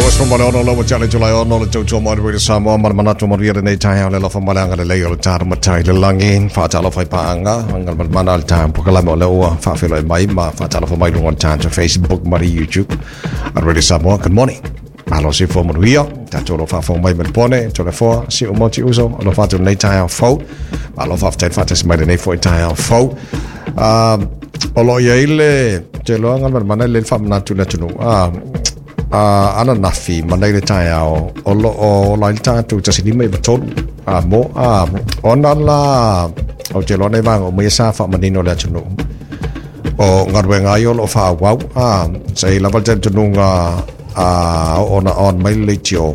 26 lava tale tulai ono le tautua mai le Samoa ma le manatu manuia lenei taeao le alofa ma le agalelei o le tatou matai i le lagi. Faatalofa i paaga galumalemana le taeao polokalame o lea ua faafeiloai mai ma faatalofa mai i luga o le tatou Facebook ma le YouTube a Radio Samoa. Good morning. Malo soifua manuia. Tatou o lo o faafofoga mai Melbourne, Toleafoa, Siumu, Uso, alofa atu lenei taeao fou. Malo faafetai le faatasi mai lenei foi taeao fou. O lo o i ai le te iloa galumalemana le faamanatu i le atunuu. Ananafi ma nei le taeao o lo o ola ai le tatou 1593 a mo a ona la o te iloa nei vaega uma ia sa faamanino le atunuu o galuega ai o lo o faaauau a sa i lava le talitonuga a oo ona on mai le leitio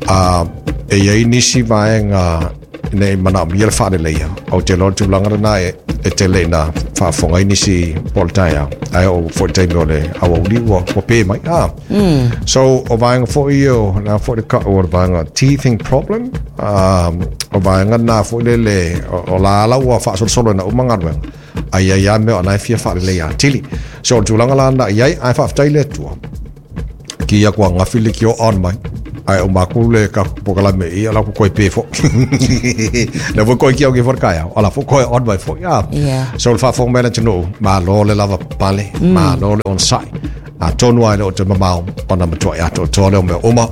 a e i ai nisi vaega ina i manaomia le faaleleia. Ou te iloa le tulaga lena e, e tele ina faafofoga ai nisi po o le taeao. Ae oo foi le taimi o le aoauli ua, ua pē mai. Ah. So, o vaega foi ia, o lea foi le kau o le vaega teething problem, o vaega na foi lele, o, o la ala ua faasolosolo ina uma galuega, ai ai lava mea o la e fia faaleleia atili. So, o le tulaga la na i ai, ae faafetai le Atua. Ki ia kua ngafi le ki o on mai. Ai o maku le ka pokalame i ala ku koi pe fo. Le fo koi ki au ki fo kai au. Ala fo koi on mai fo. Ya. Yeah. So le whaafong mena tunu, ma lo le lava pale, ma lo le on sai. A tonu ai le o te mamao, ona matua i ato toa le o mea uma.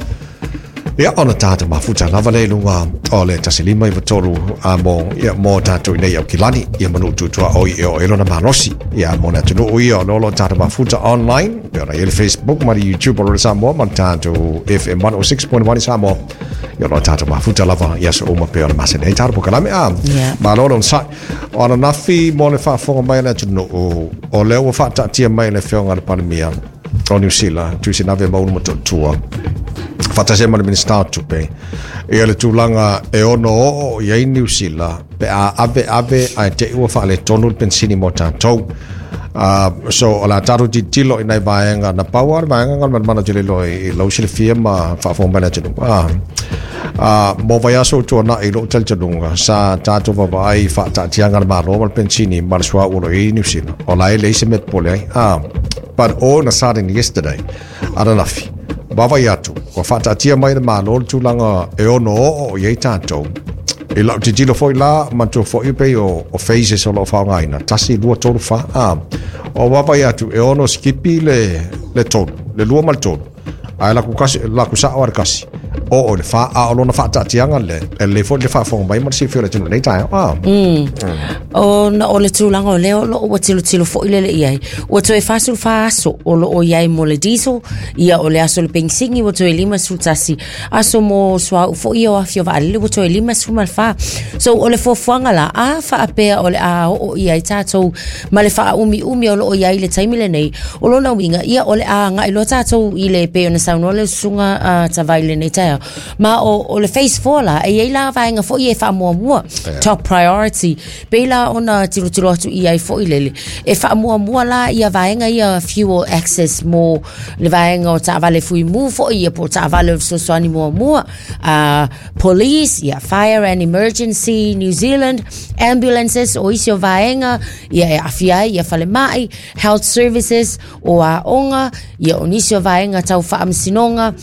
Ia, ona tātou mafuta lava le i luga o le 153 a mo, ia, mo tātou i nei au kilani, ia manu tutua o i e o e lona malosi. Ia, mo le atunuu ia o lolo tātou mafuta online, pe ona i le Facebook ma le YouTube o le Samoa, ma le tātou FM 106.1 i Samoa. Ia, lo tātou mafuta lava, ia so uma pe ona masene. Hei tātou pokalame, a, Yeah. ma lolo sai. O ananafi mo le faafofoga mai a le atunuu, o lea ua faataatia mai e le Afioga i le Palemia, o Niu Sila, Tuisinave Maulu Motootua, faatasi ai ma le Minisita o Tupe, ia le tulaga e ono oo i ai Niu Sila pe a ave ave ae te i ua faaletonu le penisini mo tatou. So o le a tatou tilotilo i nai vaega na pau lava le vaega galumalemana tele loa i lau silafia ma faafofoga mai le atunuu. Mo vaiaso ua tuanai i lou talitonuga sa tatou vaavaai i faataatiaga a le Malo ma le penisini ma le suauu o lo o i ai i Niu Sila, o la e leai se mea popole ai. But all in a sudden yesterday, ananafi, vaavaai atu, ua faataatia mai le Malo le tulaga e ono oo i ai tatou. I lau tilotilo foi la, manatua foi pei o, o phases o lo o faaaogaina, 1, 2, 3, 4, a. O vaavaai atu, e ono sikipi le, le tolu, le lua ma le tolu. Ae laku kasi, laku sao a le kasi. Oo i le whā, a o lona whaataatianga le, e lelei foi le faafofoga mai ma le silafia o le atunuu i lenei taeao. A. Ona o le tulaga o lea o loo ua tilotilo foi lele i ai. Ua toe 44 aso o loo i ai mo le diesel, ia o le aso o le penisini ua toe 51 aso mo suauu foi ia o afi o vaalele ua toe 54. So o le fuafuaga la, a faapea o le a oo i ai tatou ma le faaumiumi o loo i ai i le taimi lenei, o lona uiga, ia o le a agai loa tatou i le pei ona saunoa le susuga a Tavai i lenei taeao. Ma o, o le phase 4 la, e i ai la vaega foi e faamuamua, top priority, pei la ona tilotilo atu i ai foi lele. E faamuamua la ia vaega ia fuel access mo le vaega o taavale fuimu foi ia po o taavale o le fesoasoani muamua, police, ia fire and emergency New Zealand, ambulances, o isi o vaega ia e aafia ai ia falemai, health services, o aoga, ia o nisi o vaega tau faamasinoga,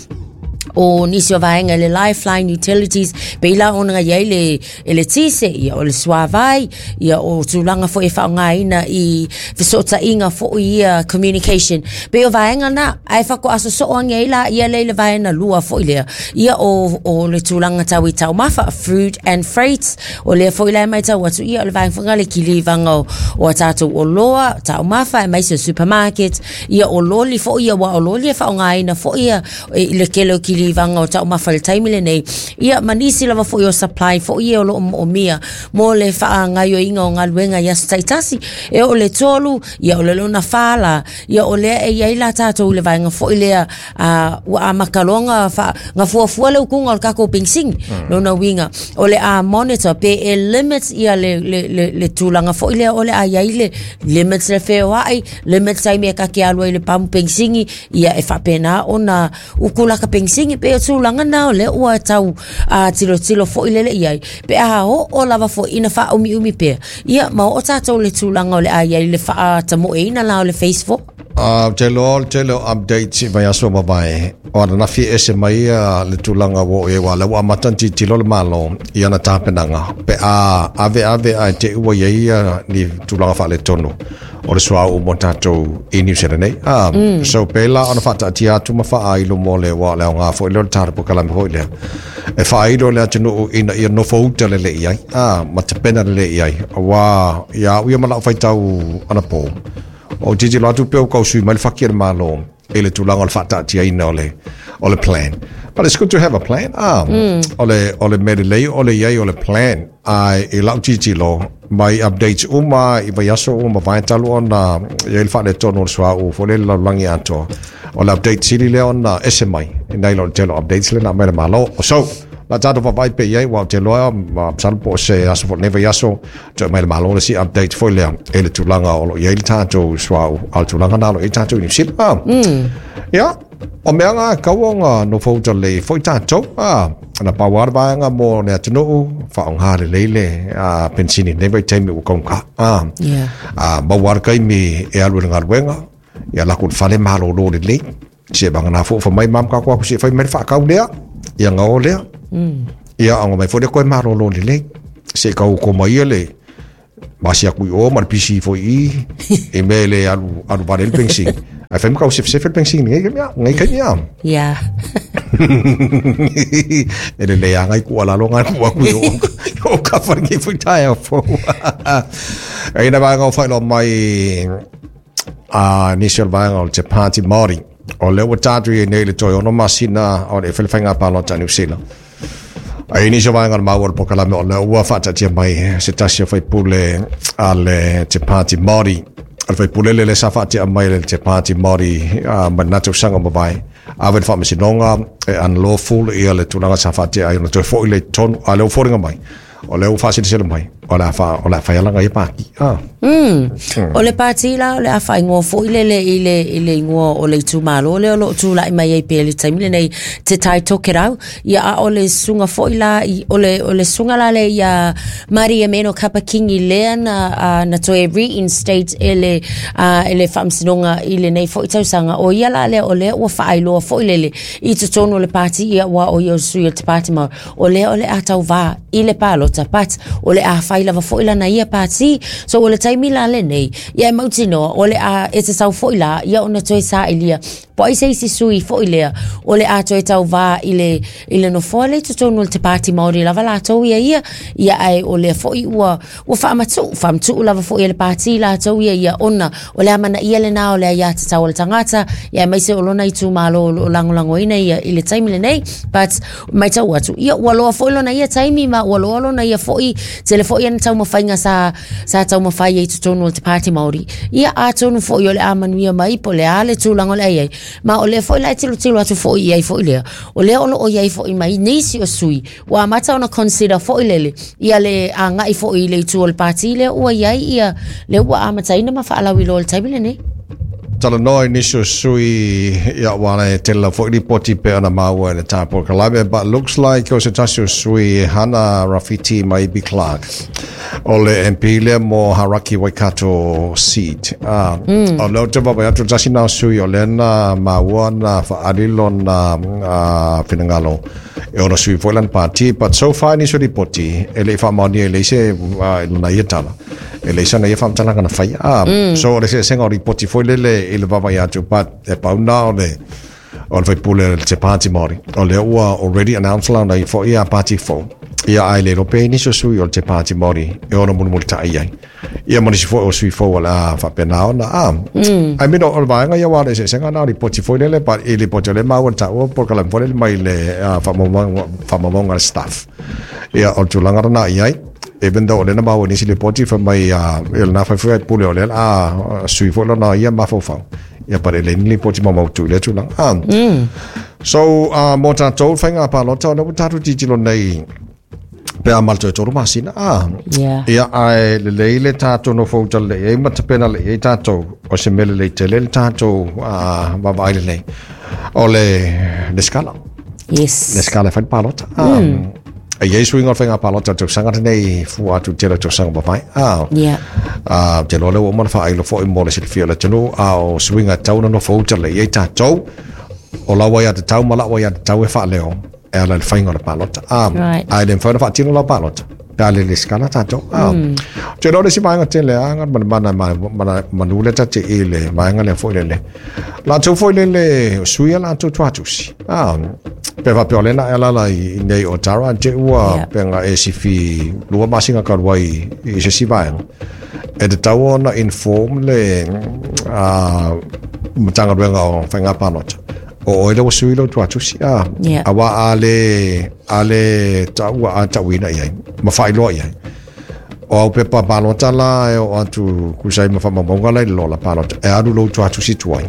o nisi o vaega i le lifeline utilities, pei la ona i ai le eletise, ia o le suavai, ia o tulaga foi e faaaogaina i fesootaiga foi ia communication. Pei o vaega na, ae faatoa sosoo ane ai la ia lea i le vaega lua foi lea, ia o, o le tulaga tau i taumafa, food and freight, o lea foi la e matau atu, ia o le vaega foi lena le kilivaga o, o a tatou oloa, taumafa, aemaise o supermarket, ia o loli foi ia, aua o loli e faaaogaina foi ia i le tele o kilivaga o taumafa i le taimi lenei, ia ma nisi lava foi o supply foi ia o lo o moomia mo le faagaoioiga o galuega i aso taitasi. E oo i le 3, ia o le lona 4 la, ia o lea e i ai la tatou i le vaega foi lea a, ua amata loa na, fa, na fuafua le utuga o le tatou penisini. Lona uiga, o le a monitor pe e limit ia le, le, le, le tulaga foi lea o le a i ai le limit le feoai, limit taimi e ta te alu ai i le pamu penisini, ia e faapena ona utu laka penisini. Pei o tulaga na o lea ua tau a, tilotilo foi lele i ai, pe a oo lava foi ina faaumiumi pea, ia ma oo tatou i le tulaga o le a i ai le faatamoeina la o le phase 4. Te loa o le tele o updates i vaiaso ua mavae, o ananafi e ese mai ia le tulaga ua oo i ai, aua o lea ua amata ona tilotilo le Malo i ana tapenaga pe a aveave ae te i ua i ai ia ni tulaga faaletonu o le suauu mo tatou i Niu Sila nei. So pēlā ona faataatia atu ma faailo mo le, aua o le aoga foi lea o le tatou polokalame foi lea, e faailo i le atunuu ina ia nofouta lelei ai, ma tapena lelei ai, aua ia au ia ma lau faitau anapo, Ou tilotilo atu pe ua tau sui mai le faki a le Malo i le tulaga o le faataatiaina o le, o le plan. But it's good to have a plan. O le mea lelei o le i ai o le plan. Ae i lau tilotilo, mai updates uma i vaiaso ua mavae talu ona i ai le faaletonu o le suauu foi lele i le lalolagi atoa. O le update sili lea ona ese mai nai lo le tele o updates lea na aumai e le Malo. So, la tatou vaavaai pea i ai, aua ou te iloa, masalo po o se aso foi o lenei vaiaso, Toe mai le Malo le isi update foi lea i le tulaga o lo o i ai le tatou suauu, a o le tulaga lena o lo o i ai tatou i Niu Sila. Ia, o mea na e tatau ona nofouta lelei foi tatou. Na pau lava le vaega mo le atunuu, faaaoga lelei le penisini i lenei vaitaimi ua taugata. Maua lava le taimi e alu i le galuega, ia alu atu i le fale malolo lelei. Se vagana foi fa mai mam ka ko se fai mai whakau lea ia ngao lea. Ia anga mai foi le koe malolo lelei. Se kau ko mai ia le masi aku i o ma le pisi foi i i me le alu alu vale le pensi. Ai fai kau sef sef le pensi ngai ka mea ngai ka mea. Yeah. E le le anga i ku ala lo ngai ku aku i o o ka whare ki fui tae au fo. E ina vaega o whailo mai A nisi o le vaega o le Te Pāti Māori. O lea ua tatou i ai nei i le toe 6 masina o le fai le faiga palota a Niu Sila. A i nisi o vaega o le maua o le polokalame o lea ua faataatia mai se tasi o faipule a le Te Pāti Māori. O le faipule lea sa faatea mai le Te Pāti Māori mai lena tausaga ua mavae. Ave i le faamasinoga e unlawful ia le tulaga sa faatea ai ona toe foi lea i totonu. A o lea ua foliga mai O lea ua faasilasila mai, o le a, fa, o le a fai alaga ia pāti. O le pāti la, o le a faaigoa foi lele i le, i le igoa o le itumalo lea o lo o tulai mai ai pea i le taimi lenei, Te Tai Tokerau. Ia, a o le susuga foi la, i, o le, o le susuga la lea ia Maria Meno Kapa Kingi lea na, uh, na toe reinstate e le, uh, e le Faamasinoga i lenei foi tausaga. O ia la lea, o lea ua faailoa foi lele i totonu o le pāti, ia, aua o ia o le sui o le Te Pāti Māori. O lea o le a tauvā i le palota, but o le a fai lava foi lana ia pāti. So o le taimi la lenei, ia e mautinoa, o le a e te sau foi la, ia ona toe sailia. Po ai se isi sui foi lea, o le a toe tauvā i le, i le nofoa lea i totonu o le Te Pāti Māori lava latou ia ia, ia ae o lea foi ua, ua faamatuu, faamatuu lava foi e le pāti latou ia ia ona o le amanaia lena o le aiatatau a le tagata, ia aemaise o lona itumalo o lo o lagolagoina ia i le taimi lenei. But matau atu, ia ua loa foi lona ia taimi ma ua loa lona ia foi, tele foi ana taumafaiga sa, sa taumafai ai i totonu o le Te Pāti Māori. Ia atonu foi o le a manuia mai po o le a le tulaga o le a i ai. Ma o lea foi la e tilotilo atu foi i ai foi lea, o lea o lo o i ai foi ma nisi o sui ua amata ona consider foi lele ia le agai foi i le itu o le pāti lea ua i ai ia lea ua amataina ma faalauiloa i le taimi lenei. Talanoa i nisi o sui ia aua e tele lava foi lipoti pei ona maua i le tā polokalame but looks like o se tasi o sui Hana Rawhiti Maibi Clark o le MP lea mo Hauraki Waikato seat. O lea ou te vaavaai atu le tasi na o sui o lea na maua na faaali lona finagalo e ono sui foi lana pāti, but so far nisi o lipoti e le i faamaonia e leai se i lona ia tala e leai sana ia faamatalaga na faia. So o le eseesega o lipoti foi lele i le vaavaai atu, but e pau na o le o le faipule o le Te Pāti Māori o lea ua already announce lana ia foi ia pāti fou ia ae le iloa pe i ai nisi o sui o le Te Pāti Māori e ono mulimulitai i ai Ia ma nisi foi o sui fou o le a faapena ona. I mean, o le vaega ia aua o le eseesega na o lipoti foi lele, but i lipoti o lea e maua i le taua polokalame foi lele mai le faamaumauga a le staff. Ia, o le tulaga lena i ai, even though o lea na maua i nisi lipoti fai mai ia lena fai foi pule o lea o le a sui foi lona ia mafaufau. Ia, but e leai ni lipoti maumautu i lea tulaga. So, mo tatou faiga palota, o lea ua tatou tilotilo nei pe a ma le toe 3 masina. Ia, ae lelei le tatou nofouta lelei ai ma tapena lelei ai tatou. O se mea lelei tele le tatou vaavaai lelei. O le lesitala. Yes. Lesitala e fai le palota. E i ai suiga o le faiga palota i le tausaga lenei fua atu i le tele o tausaga ua mavae. Ou te iloa o lea ua uma ona faailo foi mo le silafia o le atunuu, a o suiga e tatau ona nofo uta lelei i ai tatou, o lau aiatatau ma la'u aiatatau e faaleo e ala i le faiga o le palota. Ae le mafai ona faatino lau palota pe a le resitala tatou. Ou te iloa o le isi vaega tele lava Galumalemana manu lea ta te i le vaega lea foi lele. Latou foi lele sui a latou tuatusi. Pe faapea o lea na e alala i nei o Tara te ua pe nga e sifi 2 masina talu ai i se isi vaega. E tatau ona inform le Matagaluega o Faiga Palota. O oe lea ua sui lau tuatusi. Aua a le taua a tauina i ai, ma faailoa i ai. O au pepa palota la e o atu tusa ai ma faamaumauga la i le lola palota. E alu lou tuatusi tuai.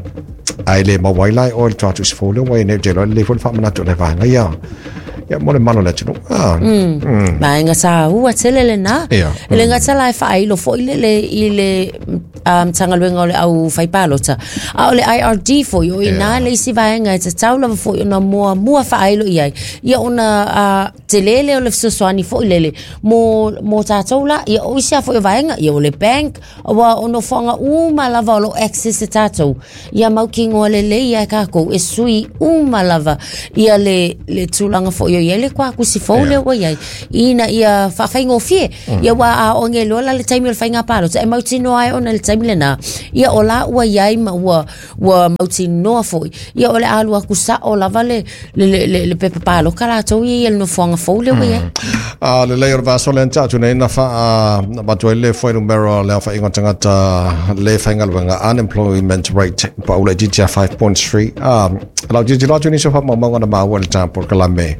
Ae le maua ai la e oe le tuatusi fou lea ua i nei. Ou te iloa lelei foi le faamanatu o le vaega ia. Ia mo le malo o le atunuu. Vaega taua tele lena. E le gata la e faailo foi lele i le Matagaluega o le au fai palota. A o le IRD foi o ina le isi vaega e tatau lava foi ona muamua faailo i ai. Ia ona tele lea o le fesoasoani foi lele mo tatou la. Ia o isi a foi o vaega, ia o le bank, ua o nofoaga uma lava o lo access e tatou. Ia mautinoa lelei ai kākou e sui uma lava ia le tulaga foi o i ai le tuatusi fou lea ua i ai ina ia faafaigofie. Ia ua a o nge loa la le taimi o le faiga palota e mautinoa ai ona le taimi lena. Ia o la ua i ai ma ua mautinoa foi. Ia o le alu atu sao lava le pepa paloka latou ia i le nofoaga fou lea ua i ai. A lelei o le vaiaso lea na tea atu nei na faa avatu ai le fuainumera o le aofaiga o tagata le faigaluega, unemployment rate pau laitiiti ia 5.3. Lau tilotilo atu i nisi o faamaumauga na maua i le tapu kalame.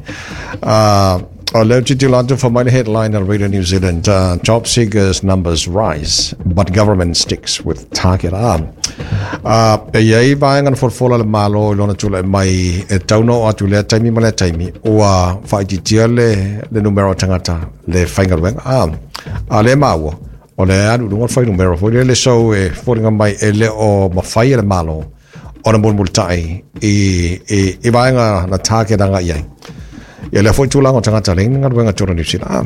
O lea tilotilo atu fa mai le headline o Radio New Zealand, "Job seekers numbers rise but government sticks with target." E i ai vaega na folafola le Malo i lona tulai mai e tatau ona oo atu i lea taimi ma lea taimi ua faaitiitia le numera o tagata le faigaluega. A lea maua o le alu i luga o le fuainumera foi lele, so e foliga mai e le o mafai e le Malo ona mulimulitai i vaega na target agai i ai. Ia lea foi tulaga o tagata leai ni galuega totonu o Niu Sila.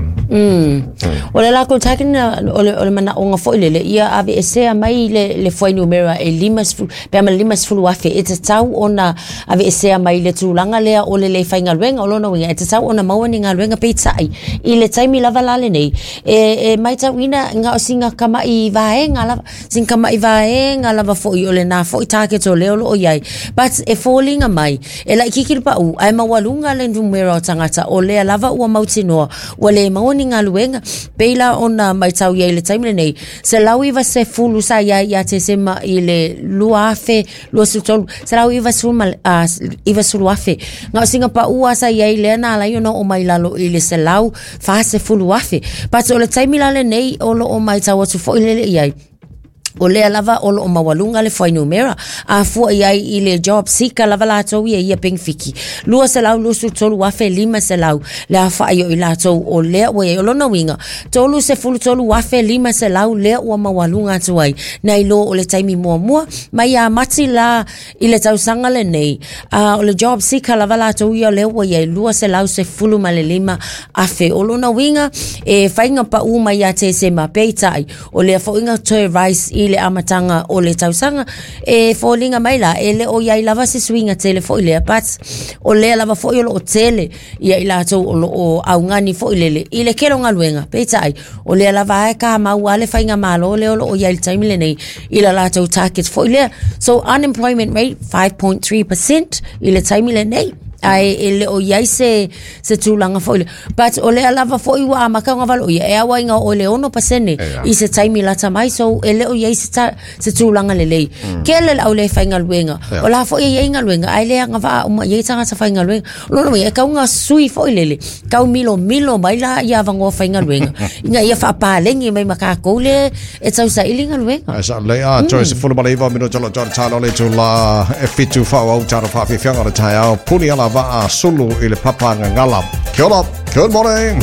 O le latou target na, o le manaoga foi lele, ia aveesea mai le fuainumera e 50, pe a ma le 50,000 e tatau ona aveesea mai le tulaga lea o le le faigaluega. O lona uiga e tatau ona maua ni galuega, peitai i le taimi lava la lenei e matauina na o sina tama'i vaega lava, sina tama'i vaega lava foi o lena foi target o lea o loo i ai. But e foliga mai e laitiiti le pau ae maualuga le numera o tagata o lea lava ua mautinoa ua le maua ni galuega. Pei la ona matau i ai i le taimi lenei, 190 sa i ai ia Tesema i le 2023, 190,000. Na o sina paua sa i ai lea na ala ai ona oo mai lalo i le 140,000. But o le taimi la lenei o loo matau atu foi lele i ai, o lea lava o loo maualuga le fuainumera. A fua i ai i le job seeker lava latou ia ia penefiti, 223,500 le aofai o i latou o lea ua i ai. O lona uiga 33,500 lea ua maualuga atu ai nai lo o le taimi muamua mai ia Mati la i le tausaga lenei. O le job seeker lava latou ia lea ua i ai 215,000. O lona uiga e faiga pau mai ia Tesema, peitai o lea foi na toe rise i le amataga o le tausaga. E foliga mai la e le o i ai lava se suiga tele foi lea, but o lea lava foi o loo tele ia i latou o loo augani foi lele i le kele o galuega, peitai o lea lava e ka mau a le faiga malo lea o loo i ai le taimi lenei i la latou target foi lea. So unemployment rate 5.3% i le taimi lenei, ae e le o i ai se tulaga foi lea. But o lea lava foi ua amata ona valo ia e aua ina o le 6% i se taimi lata mai. So e le o i ai se tulaga lelei. Kele le au le faigaluega. O la foi e i ai galuega ae le agavaa uma i ai tagata faigaluega. O lona uiga e tau sui foi lele tau milomilo mai la ia avanoa faigaluega ina ia faapalegi mai ma tatou le e tausaili galuega. Ai sa le a toe 19 minute lo tau talo le tula e fitu fa au talo fa fifianga le taeao puni ala vaa sulu i le papa ngangala. Kia ora, good morning.